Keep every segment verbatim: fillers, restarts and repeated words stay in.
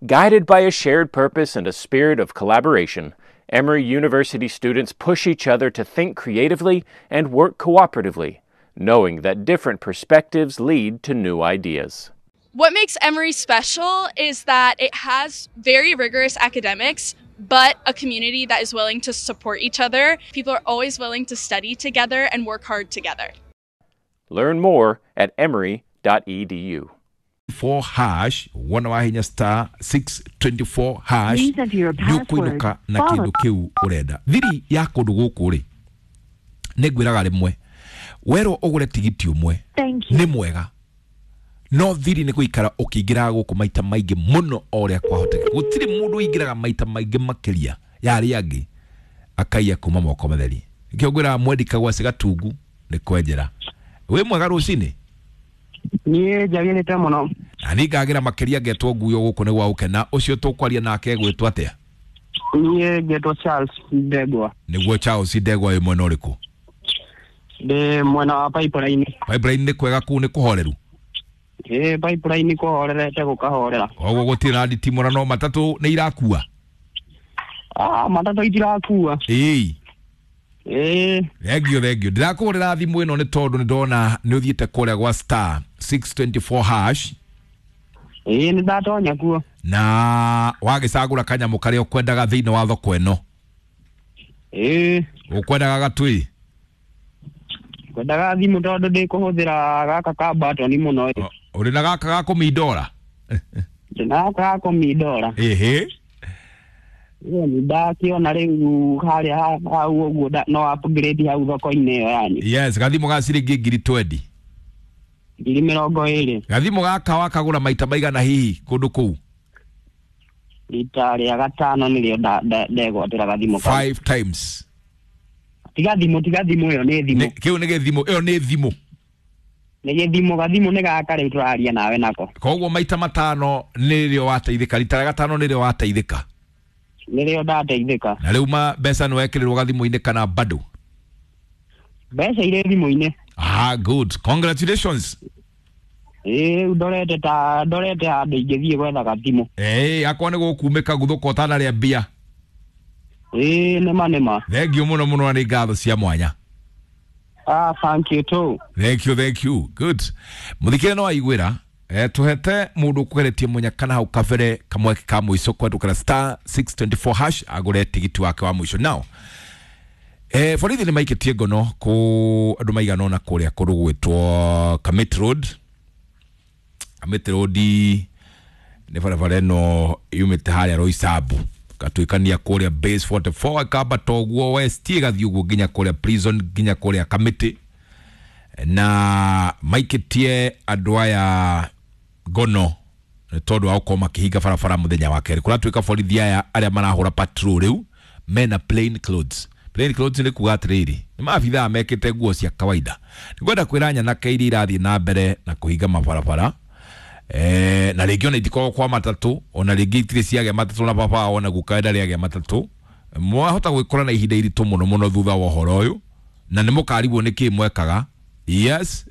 Guided by a shared purpose and a spirit of collaboration, Emory University students push each other to think creatively and work cooperatively, knowing that different perspectives lead to new ideas. What makes Emory special is that it has very rigorous academics, but a community that is willing to support each other. People are always willing to study together and work hard together. Learn more at emory dot e d u. four hash wona wahinya star six twenty-four hash nĩũkũinũka na kĩndũ kĩu ũrenda. Thiri ya kũndũ gũkũ rĩ, nĩngwĩraga rĩmwe werwo ũgũre tigiti ũmwe nĩ mwega, no thiri nĩ gũikara ũkĩingĩraga gũkũ maita maingĩ mũno o ũrĩa kwahoteka. Gũtirĩ mũndũ ũingĩraga maita maingĩ makĩria ya arĩa angĩ akaiya kuma moko matheri. Nĩkĩo ngwĩraga mwendi kagwacĩ gatungu nĩ kwenjera. Wĩ mwega rũcinĩ? Niĩ njagĩrĩte mũno. Na niĩ ngagĩra makĩria ngetwo nguyo gũkũ nĩ gwa gũkena. Ũcio tũkwaria nake egwĩtwo atĩa? Niĩ ngetwo Charles Ndegwa. Nĩguo Charles Ndegwa wĩ mwena ũrĩkũ? Ndĩ mwena wa Pipeline. Pipeline nĩ kwega kũu nĩ kũhoreru? Ĩĩ, Pipeline kũhorerete gũkahorera. Koguo gũtirĩ na nditimũra no matatũ nĩ irakua? Ah, matatũ itirakua. Ĩĩ. Ĩĩ. Thengio, thengio. Ndĩrakũhũrĩra thimũ ĩno nĩ tondũ nĩ ndona nĩ ũthiĩte kũrĩa gwa star six twenty-four hash. Ĩĩ, nĩ ndatonya kuo. Na wagĩcagũra kanyamũ karĩa ũkwendaga thĩinĩ wa thoko ĩno. Ĩĩ. Ũkwendaga gatui? Ngwendaga thimũ tondũ ndĩkũhũthĩra gaka ka batoni mũno. Ũrĩ na gaka ga kũmindora? Ndĩ na gaka ga kũmindora. Ĩhĩ. Ĩĩ, ndakĩona rĩu harĩa hau ũguo no upgrade hau thoko-inĩ ĩyo yanyu. Yes, gathimũ ga ciringi ngiri twenty. Ngiri mĩrongo ĩrĩ. Gathimũ gaka wakagũra maita maigana hihi kũndũ kũu? Rita rĩa gatano nĩrĩo ndegwatĩra gathimũ kau. Five times. Tiga thimũ, tiga thimũ ĩyo nĩ thimũ. Kĩu nĩ gĩthimũ, ĩyo nĩ thimũ. Nĩ gĩthimũ, gathimũ nĩ gaka rĩu tũraria nawe nako. Koguo maita matano nĩrĩo wateithĩka, rita rĩa gatano nĩrĩo wateithĩka. Nĩrĩo ndateithĩka. Na rĩu ma mbeca nĩ wekĩrĩrwo gathimũ-inĩ kana bado? Mbeca irĩ thimũ-inĩ. Ah, good. Congratulations. Ĩĩ, rĩu ndorete ta ndorete handũ ingĩthiĩ gwetha gathimũ. Ĩĩ, akwa nĩ gũkumĩka guthũka ũtanarĩa mbia. Ĩĩ, nĩma nĩma. Thank you mũno mũno na nĩ ngatho cia mwanya. Ah, thank you too. Thank you, thank you. Good. Mũthikĩre no aiguĩra. Eh, tuhete mundu kugeretie munyakana hau kabere kamweke ka mwico kwendukira star six twenty-four hash agure tigiti wake wa mwico. Now eh borithi ni maikitie ngono ku andu maigana ona kuria kundu gwitwo Kamiti Road. Kamiti Road ni barabara ino yumite haria Roysambu gatuikania kuria base forty-four ikambata uguo west igathii uguo nginya kuria prison nginya kuria Kamiti, na maikitie andu aya ngono tondu wa gukorwo makihinga barabara muthenya wa keri. Kuratuika borithi aya aria marahura patrol riu mena plain clothes. Plain clothes ni kuga atiriri ni maabithaa mekite nguo cia kawaida. Ningwenda kwira nyanake iria irathii na mbere na kuhinga mabarabara eh, na ringi ona itikoragwo kwa matatu, ona ringi itirĩ ciagĩa matatu na baba wao ona guka ndarĩ agĩa matatu. Mwahota gwikora na ihinda iritũ mũno mũno thutha wa ũhoro ũyũ, na nĩ mũkarigwo nĩ kĩ mwekaga. Yes.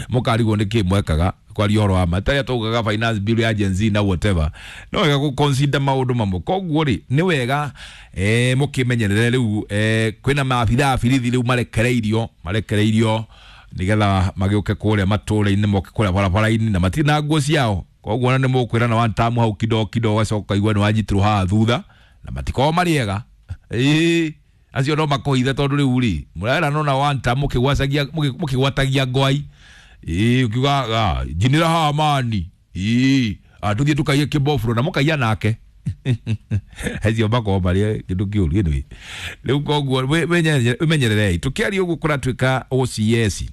Mũkarigwo nĩ kĩ mwekaga kwaria ũhoro wa ma tarĩa taugaga finance bill ya Gen Z na whatever, no wega gũ consider maũndũ mamwe. Koguo rĩ nĩ wega eh, mũkĩmenyerere rĩu eh, kwĩna maabithaa birithi rĩu marekereirio marekereirio nigetha magĩũke kũrĩa matũũra-inĩ moke kũrĩa barabara-inĩ na matirĩ na nguo ciao. Koguo ona nĩ mũkwĩrana one time hau kidogo kidogo ũgacoka ũkaigua nĩ wanyitirwo haha thutha na matikoragwo marĩ ega. Ĩĩ, acio no makũhithe tondũ rĩu rĩ mũrerana ona one time mũkĩgwacagia mũkĩgwatagia ngwai. Ĩĩ, ũkiuga njinĩra haha mani. Ĩĩ, tũthiĩ tũkaiye kĩbofuro na mũkaiya nake. Acio makoragwo marĩ kĩndũ kĩũru. Anyway, rĩu koguo wĩmenyererei. Tũkĩaria ũguo kũratuĩka O C S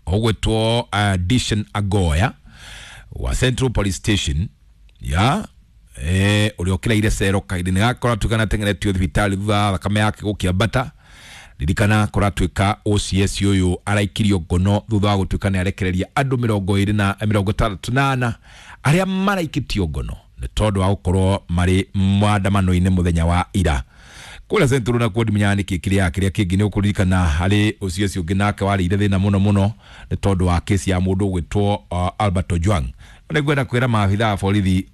ogwetwo Dishan Agoya wa Central Police Station ya eh ũrĩa ũkĩraire cero kahinda-inĩ gaka kũratuĩka nĩ atengeretio thibitarĩ thutha wa thakame yake gũkĩambata. Ririkana kũratuĩka O C S ũyũ araikirio ngono thutha wa gũtuĩka nĩ arekereria andũ mĩrongo ĩrĩ na mĩrongo ĩtandatũ na ana arĩa maraikĩtio ngono nĩ tondũ wa gũkorwo marĩ maandamano-inĩ mũthenya wa ira. Kũrĩa Central na kuo ndimenyaga nĩkĩ kĩrĩa kĩrĩa kĩngĩ nĩ ũkũririkana harĩ O C S ũngĩ nake warĩire thĩna mũno mũno nĩ tondũ wa kesi ya mũndũ ũgwĩtwo Albert Ojwang. Nĩ ngwenda kwĩra maabithaa a borithi